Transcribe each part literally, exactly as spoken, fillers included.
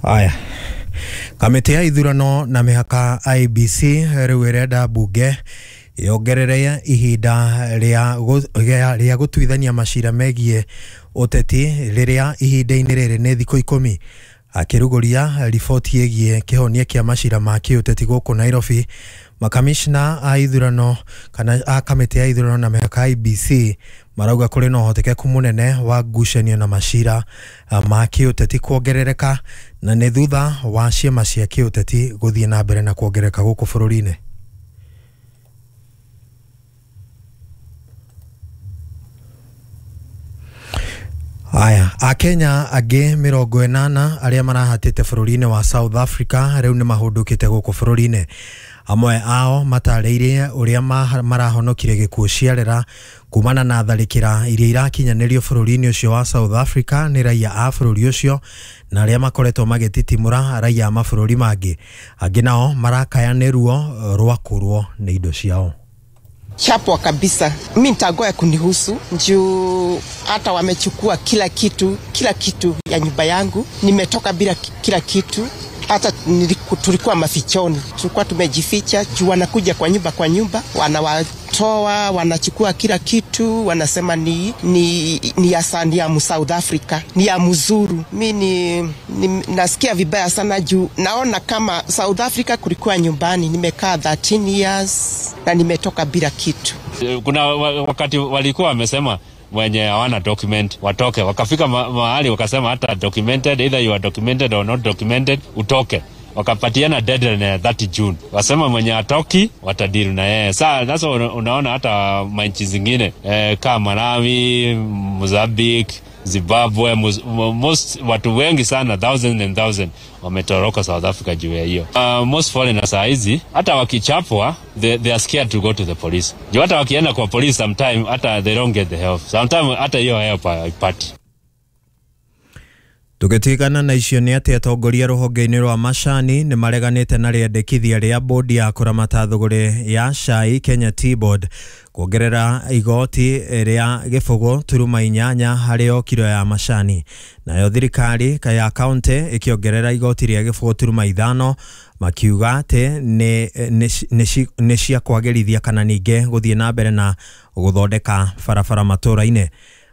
Aya, kamĩtĩ ya ithurano na mĩhaka I B C rĩu ĩrenda mbunge yongerere ihinda rĩa rĩa gũtuithania macira megiĩ ũteti rĩrĩa ihinda-inĩ rĩrĩ nĩ thikũ ikũmi. Akĩrugũria riboti ĩgiĩ kĩhonia kĩa macira ma kĩũteti gũkũ Nairobi, makamishna a ithurano kana a kamĩtĩ ya ithurano na mĩhaka I B C marauga kũrĩ na ũhotekeku mũnene wa ngucanio na macira ma kĩũteti kuongerereka, na nĩ thutha wa ciama cia kĩũteti gũthiĩ na mbere na kuongerereka gũkũ bũrũri-inĩ. Aya, Akenya angĩ mĩrongo ĩnana arĩa marahatĩte bũrũri-inĩ wa South Africa rĩu nĩ mahũndũkĩte gũkũ bũrũri-inĩ. Amwe ao matarĩirie ũrĩa marahonokire gĩkuũ ciarera kumana na tharĩkĩra iria irakinyanĩrio bũrũri-inĩ ũcio wa South Africa nĩ raia a bũrũri ũcio na arĩa makoretwo magĩtitimũra raia a mabũrũri mangĩ. Angĩ nao marakaya nĩ ruo rwa kũrwo nĩ indo ciao. Chapwa kabisa. Mimi nitagoya kunihusu juu hata wamechukua kila kitu, kila kitu ya nyumba yangu. Nimetoka bila kila kitu. Hata tulikuwa mafichoni, tulikuwa tumejificha juu wanakuja kwa nyumba kwa nyumba, wanawatoa, wanachukua kila kitu, wanasema ni ni ni ya sandi ya South Africa, ni ya mzuru. Mimi ni, ni nasikia vibaya sana juu naona kama South Africa kulikuwa nyumbani. Nimekaa thirteen years na nimetoka bila kitu. Kuna wakati walikuwa wamesema wenye hawana document watoke, wakafika ma mahali wakasema hata documented, either you are documented or not documented, utoke. Wakapatiana deadline ya thirty June, wasema mwenye atoki watadili na yeye. Sasa sasa unaona hata manchi zingine eh, kama Malawi, Mozambique, Zimbabwe, most watu wengi sana, thousand and thousand wametoroka South Africa juu ya hiyo. Uh, most foreigners saa hizi hata wakichapwa they, they are scared to go to the police. Juu hata wakienda kwa police sometime hata they don't get the help. Sometime hata hiyo help haipati. Tũgĩtigana na icio nĩ atĩ atongoria rũhonge-inĩ rwa macani nĩ mareganĩte na rĩendekithia rĩa bodi ya kũramata thũgũrĩ ya cai Kenya Tea Board kuongerera igoti rĩa gĩbũgũ turuma inyanya harĩ o kiro ya macani. Nayo thirikari ya kaunti ĩkĩongerera igoti rĩa gĩbũgũ turuma ithano, makiuga atĩ nĩ cia kwagĩrithia kana ningĩ gũthiĩ na mbere na gũthondeka barabara matũũra-inĩ.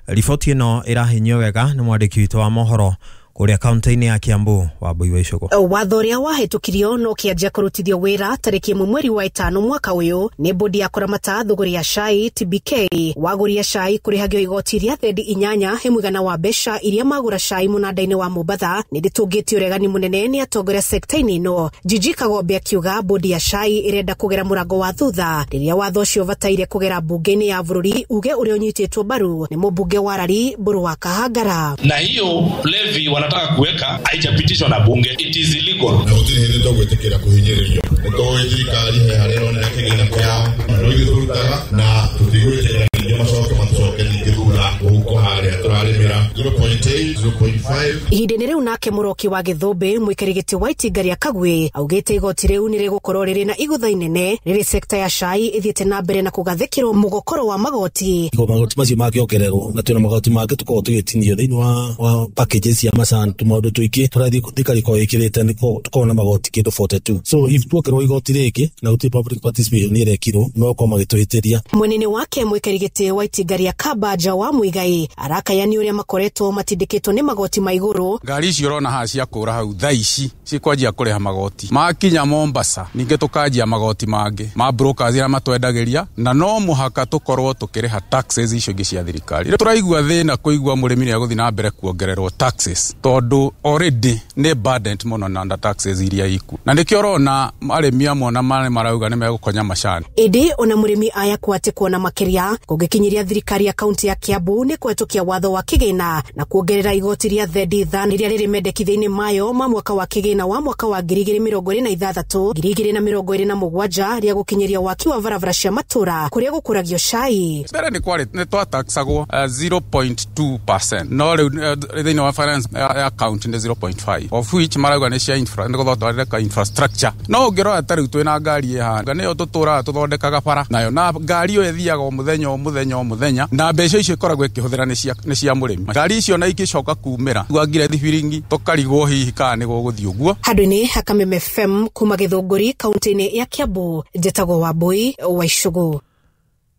Riboti ĩno ĩrahinyio wega nĩ mwandĩki witũ wa mohoro kũrĩa kaunti-inĩ ya Kiambu, Wambui wa Icugu. Watho ũrĩa wahĩtũkirio no kĩanjia kũrutithio wĩra tarĩki ĩmwe mweri wa ĩtano mwaka ũyũ nĩ bodi ya kũramata thũgũrĩ ya cai T B K. Wagũria cai kũrĩhagio igoti rĩa thendi inyanya he mũigana wa mbeca iria magũra cai mũnanda-inĩ wa Mombatha. Nĩ rĩtũngĩtio ũregani mũnene nĩ atongoria sekta-inĩ ĩno. Jiji Kagombe akiuga bodi ya cai ĩrenda kũgera mũrango wa thutha rĩrĩa watho ũcio ũbataire kũgera mbunge-inĩ ya bũrũri, uge ũrĩa ũnyitĩtwo mbaru nĩ mũmbunge wa Rari Mbũrũ wa Kahangara. Na hiyo levy wanataka kuweka haijapitishwa na bunge, it is illegal. Na gũtirĩ hĩndĩ tũgwĩtĩkĩra kũhinyĩrĩrio. Nĩtũĩ thirikari he harĩa ĩronera kĩgĩna kĩao, na no ithuĩ tũrutaga na tũtigwĩtĩkĩra ningĩ macoke matũcoke ningĩ thutha mũhuko harĩa tũrarĩmĩra zero point eight, zero point five. Ihinda-inĩ rĩu nake Mũroki wa Gĩthũmbĩ mũikarĩri gĩtĩ wa itinga rĩa Kagwĩ augĩte igoti rĩu nĩ rĩgũkorwo rĩrĩ na igũtha inene rĩrĩ sekta ya cai ĩthiĩte na mbere na kũgathĩkĩrwo mũgokoro wa magoti. Magoti macio mangĩongererwo na twĩna magoti mangĩ tũkoragwo tũgĩtinio thĩinĩ wa, wa packages cia macani tũmaũndũ tũingĩ tũrathiĩ thirikari ĩkoragwo ĩkĩrĩte nĩ tũkoragwo na magoti kĩndũ forty-two. So if tuongererwo igoti rĩngĩ na gũtirĩ public participation ĩrekirwo, no gũkorwo magĩtũhĩtĩria. Mwenene wake mũikarĩri gĩtĩ wa itinga rĩa Kabanja wa Muigai arakaya nĩ ũrĩa makoretwo matindĩkĩtwo nĩ magoti ma igũrũ. Ngari icio ũrona haha cia kũra hau thaa ici cikwanjia kũrĩha magoti makinya Mombasa, ningĩ tũkanjia magoti mangĩ ma brokers arĩa matwendagĩria, na no mũhaka tũkorwo tũkĩrĩha taxes icio ingĩ cia thirikari. Tũraigua thĩna kũigua mũrĩmi nĩ egũthiĩ na mbere kuongererwo taxes tondũ already nĩ burdened mũno na taxes iria iku, na nĩkĩo ũrona arĩmi amwe na marĩ marauga nĩ megũkonya macani. Ĩndĩ ona mũrĩmi aya kwatĩkwo na makĩria kũngĩkinyiria thirikari ya kaunti ya Kiambu nĩ kũhetũkia watho wa kĩgĩna na kuongerera igoti rĩa thendi ithano rĩrĩa rĩrĩ mendekithia-inĩ mayo ma mwaka wa kĩgĩna wa mwaka wa ngiri igĩrĩ mĩrongo ĩrĩ na ithathatũ ngiri igĩrĩ na mĩrongo ĩrĩ na mũgwanja rĩa gũkinyiria waki wa barabara cia matũra kũrĩa gũkũragio cai. Mbere nĩ kwarĩ nĩ twataxagwo zero point two percent, no rĩu thĩinĩ wa finance ya county nĩ zero point five, of which marauga nĩ cia infra, nĩ gũthondeka infrastructure. No ũngĩrora ta rĩu twĩna ngari ĩhana nĩyo tũtũraga tũthondekaga bara nayo, na ngari ĩyo ĩthiaga o mũthenya o mũthenya o mũthenya, na mbeca icio ikoragwo ĩkĩhũthĩra nĩ cia nĩ cia mũrĩmi. Ngari icio na ikĩcoka kumĩra twangire thibiringi tũkarigwo hihi kana nĩ gũgũthiĩ ũguo. Handũ-inĩ ha Kameme F M kuma Gĩthũngũri kaunti-inĩ ya Kiambu, njĩtagwo Wambui wa Icũgũ.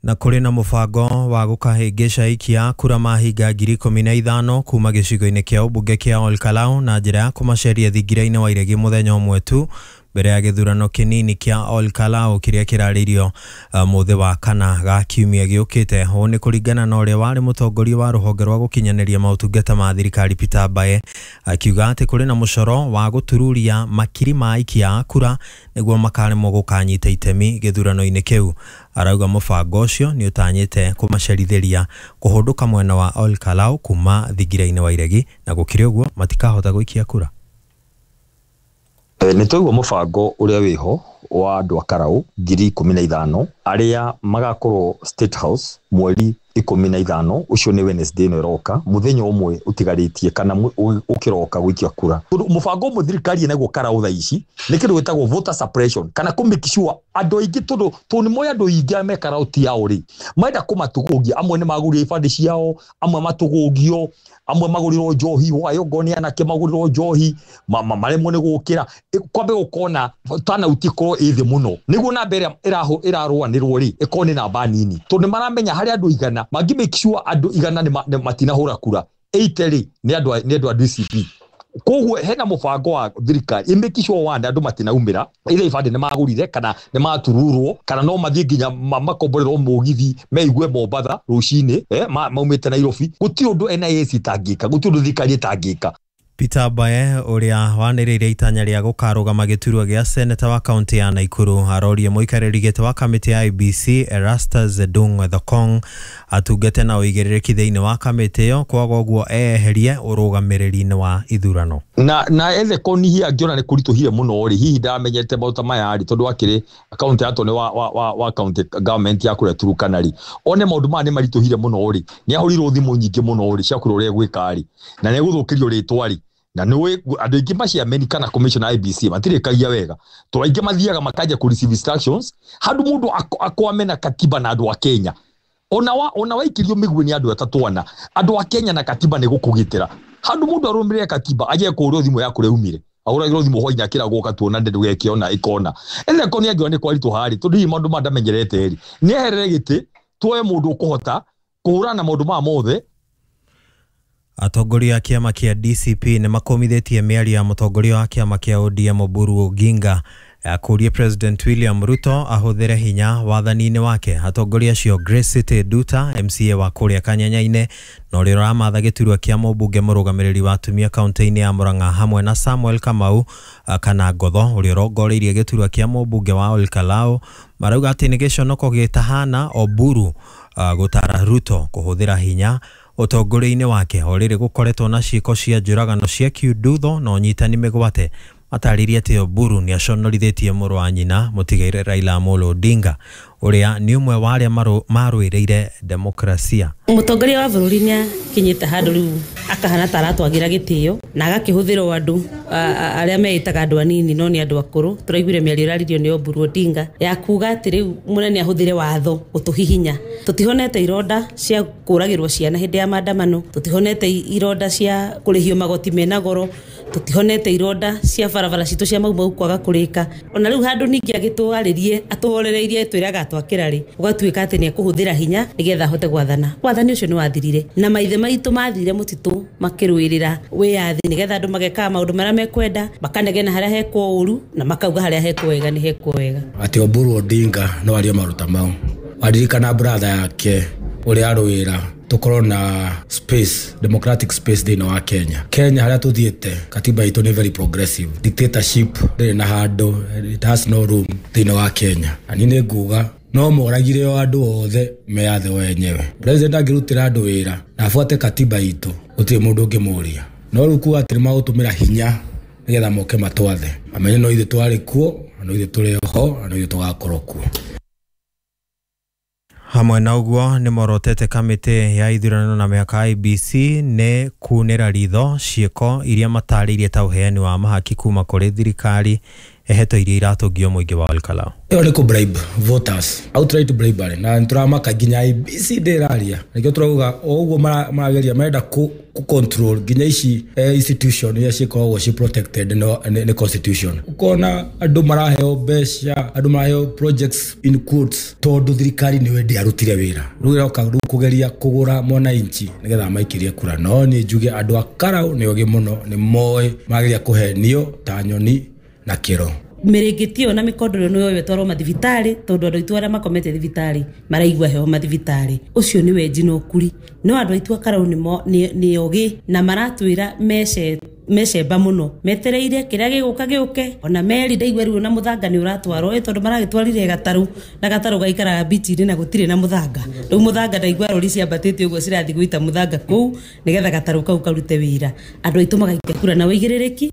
Na kũrĩ na mũbango wa gũkahĩngĩca aikia kura mahinga ngiri ikũmi na ithano kuma gĩcigo-inĩ kĩa ũmbunge kĩa Olkalau na njĩra ya kũmaceria thingira-inĩ wa iregi mũthenya ũmwe tu mbere ya gĩthurano kĩnini kĩa Olkalau kĩrĩa kĩrarĩirio mũthĩ wa kana ga kiumia gĩũkĩte. Ũũ nĩ kũringana na ũrĩa warĩ mũtongoria wa rũhonge rwa gũkinyanĩria maũtungata ma thirikari Peter Mbae, akiuga atĩ kũrĩ na mũcoro wa gũtururia makiri ma aikia a kura nĩguo makaremwo gũkanyita itemi gĩthurano-inĩ kĩu. Arauga mũbango ũcio nĩ ũtanyĩte kũmacerithĩria kũhũndũka mwena wa Olkalau kuma thingira-inĩ wa iregi, na gũkĩrĩ ũguo matikahota gũikia kura. Nĩ twaigua mũbango ũrĩa wĩho wa andũ a Karau ngiri ikũmi na ithano arĩa magakorwo State House mweri ikũmi na ithano, ũcio nĩ Wednesday ĩno ĩroka, mũthenya ũmwe ũtigarĩtie kana ũkĩroka gũikia kura. Tondũ mũbango ũmwe thirikari ĩnaguo Karau thaa ici nĩ kĩndũ gĩtagwo voter suppression kana kũ make sure andũ aingĩ, tondũ tondũ nĩ moĩ andũ aingĩ arĩa me Karau ti ao rĩ, marenda kũmatũgũgia. Amwe nĩ magũrire ibandĩ ciao, amwe matũgũgio, amwe magũrirwo njohi, wayo ngo nĩ anake magũrirwo njohi, maremwo nĩ gũkĩra. Kwambe gũkona turnout ĩkorwo ĩ thĩ mũno nĩguo namba ĩrĩa ĩrarũanĩrwo rĩ ĩkorwo nĩ namba nini, tondũ nĩ maramenya harĩ andũ igana mangĩ make sure andũ igana nĩ matinahũra kura eighty rĩ nĩ andũ nĩ andũ a D C P. Koguo hena mũbango wa thirikari ĩ make sure one andũ matinaumĩra, either ibandĩ nĩ magũrire kana nĩ matururwo kana no mathiĩ nginya makomborerwo mũgithi meigue Mombatha rũcinĩ, eh, maumĩte Nairobi. Gũtirĩ ũndũ N I S ĩtangĩka, gũtirĩ ũndũ thirikari ĩtangĩka. Peter Mbae ũrĩa wanĩrĩire itanya rĩa gũkarũgama gĩturwa gĩa seneta wa kaunti ya Nakuru arorie mũikarĩri gĩtĩ wa kamĩtĩ ya I B C Erastus Edung Ethekong atungate na ũigĩrĩrĩki thĩinĩ wa kamĩtĩ ĩyo, kwaga ũguo eyeherie ũrũgamĩrĩri-inĩ wa ithurano. Na na Ethekong hihi angĩona nĩ kũritũhire mũno rĩ, hihi ndamenyete maũndũ ta maya rĩ, tondũ akĩrĩ kaunti ya nĩ wa wa wa county government ya kũrĩa Turkana rĩ, one maũndũ maya nĩ maritũhire mũno rĩ, nĩ ahũrirwo thimũ nyingĩ mũno rĩ cia kũrĩa ũrĩa egwĩka rĩ, na nĩ egũthũkĩrio rĩtwa rĩ. Na nĩ andũ aingĩ maciameni kana commission I B C matirĩkagia wega, tondũ aingĩ mathiaga makanja kũ receive instructions handũ mũndũ akwame na katiba na andũ a Kenya. Ona wa ona waikĩrio mĩguĩ nĩ andũ atatũ ana, andũ a Kenya na katiba nĩ gũkũgitĩra. Handũ mũndũ arũmĩrĩre katiba aje kũũrwo thimũ ya kũrĩa umire, ahũragĩrwo thimũ hwainĩ akĩragwo gatuona ndũgekĩona ĩkona. Ethekong nĩ angĩona nĩ kwaritũha rĩ, tondũ hihi maũndũ maya ndamenyerete rĩ, nĩ eherere gĩtĩ tuoe mũndũ ũkũhota kũhũrana na maũndũ maya mothe. Atongoria a kĩama kĩa D C P nĩ makomithĩtie mĩario ya mũtongoria wa kĩama kĩa O D M Oburu Oginga ya kũũria President William Ruto ahũthĩre hinya wathani-inĩ wake. Atongoria acio Grace City Duta M C A wa kũrĩa Kanyanya-inĩ na ũrĩa ũramatha gĩturwa kĩa mũmbunge mũrũgamĩrĩri wa atumia kaunti-inĩ ya Murang'a hamwe na Samuel Kamau kana Ngotho ũrĩa ũrongoreirie gĩturwa kĩa mũmbunge wa Olkalau marauga atĩ nĩ gĩconoko gĩtahana Oburu gũtara Ruto kũhũthĩra hinya ũtongoria-inĩ wake. O rĩrĩ gũkoretwo na ciĩko cia njũragano cia kiundutho na ũnyitani mĩgwate. Matarĩrie atĩ Oburu nĩ aconorithĩtie mũrũ wa nyina mũtigaire Raila Amolo Odinga ũrĩa nĩ ũmwe wa arĩa marũĩrĩire demokrasia. Mũtongoria wa bũrũri nĩ akinyĩte handũ rĩu akahana ta aratwagĩra gĩtĩo na agakĩhũthĩrwo andũ arĩa meĩtaga andũ anini no nĩ andũ akũrũ. Tũraiguire mĩario ĩraririo nĩ Oburu Odinga ya kuga atĩ rĩu mũnene ahũthĩre watho gũtũhihinya. Tũtihonete ironda cia kũragĩrwo ciana hĩndĩ ya maandamano, tũtihonete ironda cia kũrĩhio magoti mena goro, tũtihonete ironda cia barabara citũ cia Mau Mau kwaga kũrĩka. Ona rĩu handũ ningĩ agĩtwarĩrie atũhorereirie twĩraga atwakĩra rĩ, ũgatuĩka atĩ nĩ ekũhũthĩra hinya nĩgetha ahote gwathana. Wathani ũcio nĩ wathirire na maithe maitũ mathire mũtitũ makĩrũĩrĩra wĩyathi nĩgetha andũ magekaga maũndũ marĩa mekwenda, makanegena harĩa hekwo ũru na makauga harĩa hekwo wega nĩ hekwo wega. Atĩ Oburu Odinga no arie maruta mau, aririkana brother yake ũrĩa arũĩra tukorwo na space, democratic space thĩinĩ wa Kenya. Kenya harĩa tũthiĩte katiba itũ nĩ very progressive, dictatorship ndĩrĩ na handũ, it has no room thĩinĩ wa Kenya. Na niĩ nĩ nguga no moragire o andũ othe meyathe wenyewe. President angĩrutĩra andũ wĩra na abuate katiba itũ, gũtirĩ mũndũ ũngĩmũria. No rĩu kuga atĩ nĩmagũtũmĩra hinya nĩgetha moke matwathe, amenye no ithuĩ twarĩ kuo, na no ithuĩ tũrĩ ho, na no ithuĩ tũgakorwo kuo. Hamwe na ũguo nĩ morotete kamĩtĩ ya ithurano na mĩhaka I B C nĩ kunĩra ritho ciĩko iria matarĩirie ta ũheani wa mahaki kuma kũrĩ thirikari heto iria iratũngio mũingĩ wa Olkalau. Ĩyo nĩ kũ bribe voters, outright bribery, na nĩtũramaka nginya I B C ndĩraria. Nĩkĩo tũrauga o ũguo marageria marenda kũ control nginya ici institution iria cikoragwo ci protected nĩ constitution. Ũkona andũ maraheo mbeca, andũ maraheo projects in quotes tondũ thirikari nĩyo ndĩarutire wĩra. Rĩu ĩroka rĩu kũgeria kũgũra mwananchi nĩgetha maikĩrie kura. No niĩ njuge andũ a Karau nĩ ogĩ mũno, nĩ moĩ mageria kũhenio ta nyoni na kĩro. Mĩrĩngĩti ĩyo na mĩkondoro nĩ yoyo ĩtwarwo mathibitarĩ tondũ andũ aitũ arĩa makomete thibitarĩ maraigua heho mathibitarĩ. Ũcio nĩ wenji na ũkuri. No andũ aitũ a Karau nĩ ogĩ na maratwĩra mece mecemba mũno, metereire kĩrĩa gĩgũka gĩũke. Ona meri ndaigua rĩu na mũthanga nĩ ũratwarwo ĩ tondũ maragĩtwarire gatarũ na gatarũ gaikaraga bichi-inĩ na gũtirĩ na mũthanga. Rĩu mũthanga ndaigua rori ciambatĩte ũguo cirathiĩ gũita mũthanga kũu nĩgetha gatarũ kau karute wĩra. Andũ aitũ magaikia kura na ũigĩrĩrĩki.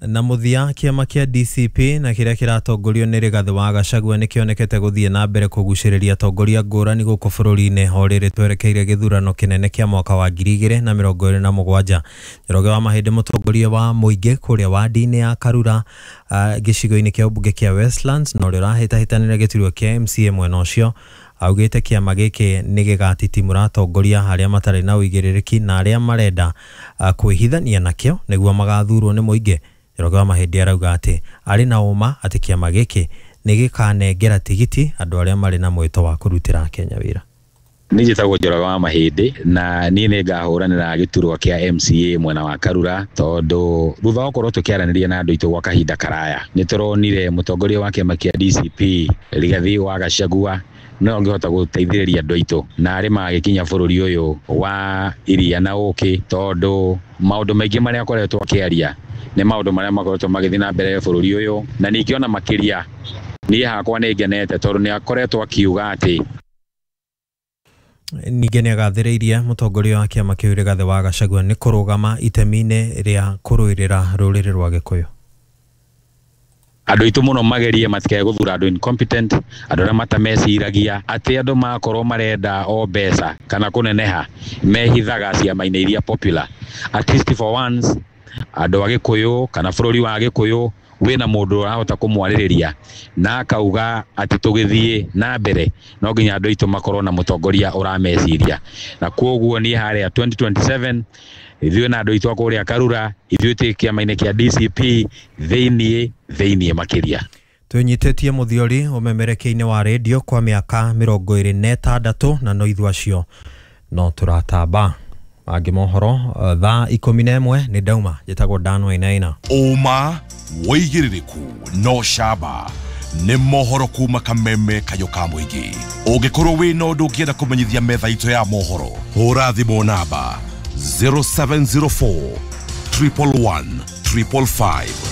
Na mũthia kĩama kĩa D C P na kĩrĩa kĩratongorio nĩ Rigathĩ wa Gachagua nĩ kĩonekete gũthiĩ na mbere kũgucĩrĩria atongoria ngũrani gũkũ bũrũri-inĩ o rĩrĩ twerekeire gĩthurano kĩnene kĩa mwaka wa ngiri igĩrĩ na mĩrongo ĩrĩ na mũgwanja. Njoroge wa Mahĩndĩ mũtongoria wa mũingĩ kũrĩa wadi-inĩ ya Karura uh, gĩcigo-inĩ kĩa ũmbunge kĩa Westlands na ũrĩa ũrahĩtahĩtanĩra gĩturwa kĩa M C A mwena ũcio augĩte kĩama gĩkĩ nĩ gĩgatitimũra atongoria arĩa matarĩ na ũigĩrĩrĩki na arĩa marenda uh, kwĩhithania nakĩo nĩguo magathurwo nĩ mũingĩ. Njoroge wa Mahĩndĩ arauga atĩ arĩ na ũma atĩ kĩama gĩkĩ nĩ gĩkanengera tigiti andũ arĩa marĩ na mwĩto wa kũrutĩra Kenya wĩra. Niĩ njĩtagwo Njoroge wa Mahĩndĩ na niĩ nĩ ngahũranĩra gĩturwa kĩa M C A mwena wa Karura tondũ thutha wa gũkorwo tũkĩaranĩria na andũ aitũ gwa kahinda karaya nĩ tũronire mũtongoria wa kĩama kĩa D C P Rigathĩ wa Gachagua no angĩhota gũteithĩrĩria andũ aitũ na arĩ magĩkinya bũrũri ũyũ wa iria na ũkĩ tondũ maũndũ maingĩ marĩa akoretwo akĩaria nĩ maũndũ marĩa makoretwo magĩthiĩ na mbere bũrũri ũyũ na ningĩ ona makĩria niĩ hakwa nĩ ngenete tondũ nĩ akoretwo akiuga atĩ ningĩ nĩ agathĩrĩirie mũtongoria wa kĩama kĩu Rigathĩ wa Gachagua nĩ kũrũgama itemi-inĩ rĩa kũrũĩrĩra rũrĩrĩ rwa Gĩkũyũ. Andũ aitũ mũno magerie matikae gũthura andũ incompetent, andũ arĩa matameciragia atĩ andũ makorwo marenda o mbeca kana kũneneha mehithaga ciama-inĩ iria popular. At least for once andũ a Gĩkũyũ kana bũrũri wa Gĩkũyũ wĩna mũndũ ũrahota kũmwarĩrĩria na akauga atĩ tũgĩthiĩ na mbere no nginya andũ aitũ makorwo na mũtongoria ũrameciria. Na kwoguo niĩ harĩa twenty twenty-seven ithuĩ na andũ aitũ a kũrĩa Karura ithuĩ twĩ kĩama-inĩ kĩa D C P thĩiniĩ thĩiniĩ makĩria. Twĩnyitĩtie mũthiori ũmemerekia-inĩ wa rĩndiũ kwa mĩaka mĩrongo ĩrĩ na ĩtandatũ na no ithuĩ acio no tũratamba. Mangĩ mohoro thaa ikũmi na ĩmwe nĩ ndauma. Njĩtagwo Dan Wainaina. Ũma wĩigĩrĩrĩku no camba nĩ mohoro kuma kameme kayo ka mũingĩ. Ũngĩkorwo wĩna ũndũ ũngĩenda kũmenyithia metha itũ ya mohoro, hũra thimũ namba zero seven zero four triple one triple five.